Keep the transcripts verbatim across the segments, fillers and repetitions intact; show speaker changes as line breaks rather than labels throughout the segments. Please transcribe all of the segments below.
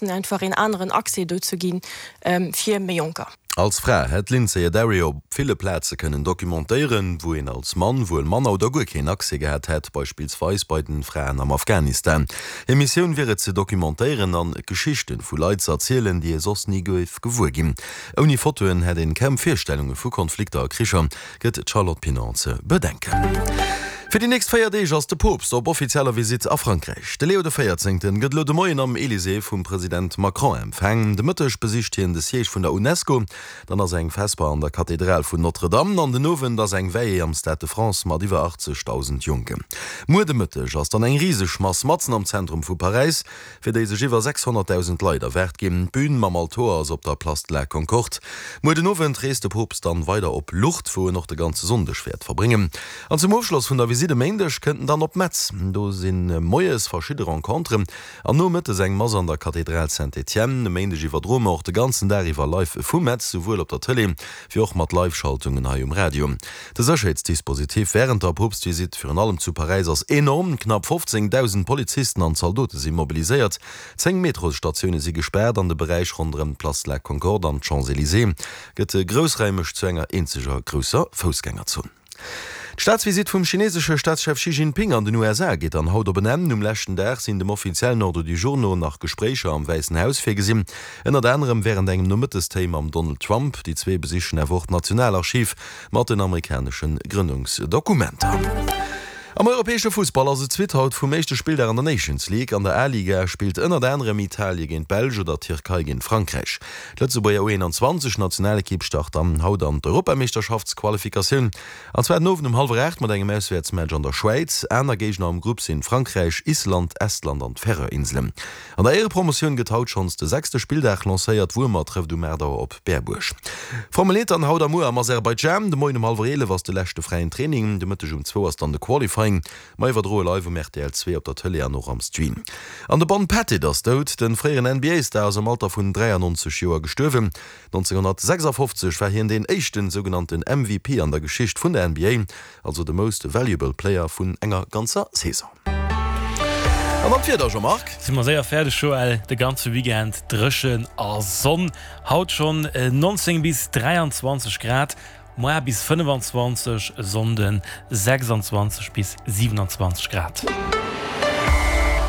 bëssen einfach een aneren Accès do ze ginn fir méi Jonker.
Als Fra hätt d'Lynsey Addario op ville Plaze kënnen dokumentéieren, wou een als Mann wuel manner oder guer keen Accès gehat hätt, beispillsweis bei den Fraen am Afghanistan. Hir Missioun wier et ze dokumentéieren an Geschichten vu Leit ze erzielen, déi ee soss ni géif gewuer ginn. Ouni Fotoen hätt een kaum Virstellunge vu Konflikter a Kricher, gëtt d'Charlotte Pinon ze bedenken. Fir déi nächst véier Deeg ass de Poopst op offizieller Visitt a Frankräich. De Leo de Véierzéngten gëtt elo de Moien am Elysée vum President Macron empfaang. De Mëtteg besicht hien de Siège vun der Unesco, dann ass eng Vesper an der Kathedral vun Notre-Dame an den Owend ass eng Veillée am Stade de France mat iwwer achtzegdausend Jonken. Muer de Mëtteg ass dann eng riseg Mass matzen am Zentrum vu Paräis, fir déi sech iwwer sechshonnertdausend Leit erwaart ginn. D'Bün mam Altoer ass op der Place de la Concorde. Muer den Owend reest de Poopst dann weider op Lourdes, wou en och de ganze Sonndeg wäert verbréngen. An zum Ofschloss vun der Visitt e Méindeg kënnt en dann op Metz. Do si moies verschidde Renconteren an nomëttes eng Mass an der Kathedral Saint-Étienne. E Méindeg iwwerdroe mer och de ganzen Dag iwwer live vu Metz, souwuel op der Tëlee wéi och mat Live-Schaltungen hei um Radio. De Sécherheetsdispositif wärend der Poopstvisitt, virun allem zu Paräis, ass enorm. Knapp fofzéngdausend Polizisten an Zaldote si mobiliséiert, zéng Metrosstatioune si gespaart an de Beräich ronderëm d'Place de la Concorde an d'Champs-Élysées gëtt groussraimeg zu enger eenzeger grousser Foussgängerzon. D'Staatsvisitt vum chinesesche Staatschef Xi Jinping an den U S A geet dann haut op en Enn. Um leschten Dag sinn dem offiziellen Ordre du jour no nach Gespréicher am Wäissen Haus virgesinn, ënnert anerem wärend engem Nomëttestéi mam Donald Trump. Déi zwee besichen awer och d'Nationalarchiv mat den amerikanesche Grënnungsdokumenter. Am europäesche Fussball ass et d'Suite haut vum éischte Spilldag an der Nations League. An der A-Liga spillt ënnert anerem Italie géint d'Belsch oder d'Tierkei géint Frankräich. D'Lëtzebuerger U einundzwanzeg Nationalekipp start dann haut an d'Europameeschterschaftsqualifikatioun. An zwar den Owend um hallwer aacht mat engem Auswäertsmatch an der Schwäiz. Aner Géigner am Grupp sinn Frankräich, Island, Estland an d'Färöer-Inselen. An der Éierepromotioun gëtt haut schonns de sechste Spilldag lancéiert. Wuermer trëfft um aacht Auer op Berbuerg. Formel eent dann haut a muer am Aserbaidschan. De Moien um hallwer eelef ass de leschte fräien Training. De Mëtteg um zwou ass dann de Qualifying. Mer iwwerdroe live um R T L zwee op der Tëlee an och am Stream. An de Bon Pettit ass dout. De fréieren N B A-Star ass am Alter vun dräiannonzeg Joer gestuerwen. nonzénghonnertsechsafofzeg war hien deen éischten sougenannten M V P an der Geschicht vun der N B A, also de Most Valuable Player vun enger ganzer Saison. An dann d'Wieder, Jean-Marc.
Si mer séier fäerdeg, Joël. De ganze Weekend dréchen a Sonn. Haut schonn neunzéng bis dräianzwanzeg Grad, muer bis fënnefanzwanzeg, e Sonnden sechsanzwanzeg bis siewenanzwanzeg Grad.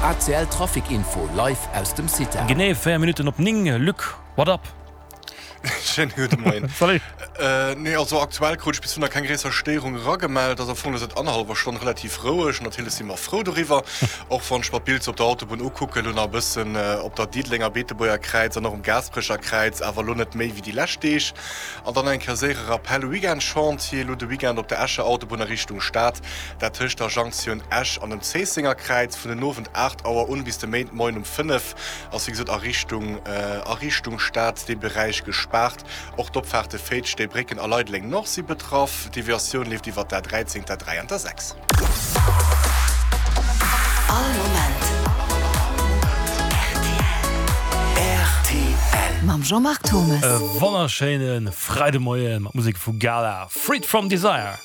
A C L Trafic Info live aus dem CITA.
Genee véier Minutten op néng. Luc, what up?
Schéine gudde Moien.
Salut.
Nee, also aktuell krut ech bis elo nach keng gréisser Stéierung eragemellt. Ass am Fong elo säit annerhallwer Stonn relativ roueg. Natierlech si mer frou doriwwer, och wann ech mer d'Bild sou op der Autobunn ukucken, elo nach e bëssen op der Diddelenger Beetebuerger Kräiz an och um Gaasperecher Kräiz, awer elo net méi wéi déi lescht Deeg. An dann eng Kéier séiere Rappel, Weekend-Chantier elo de Weekend op der Escher Autobunn a Richtung Stad, dat tëscht der Jonktioun Esch an dem Zéissenger Kräiz vun den Owend aacht Auer un bis de Méindmoien um fënnef ass wéi gesot a Richtung a Richtung Stad dee Beräich gespaart. Och d'Opfaarte Féiz, Steebrécken a Leideleng Nord si betraff. D'Deviatioun leeft iwwer d'A dräizéng, d'A dräi an d'A sechs.
All Moment R T L mam Jean-Marc Thomes.
E wonnerschéine Freidemoie mat Musek vu Gala, Freed from Desire.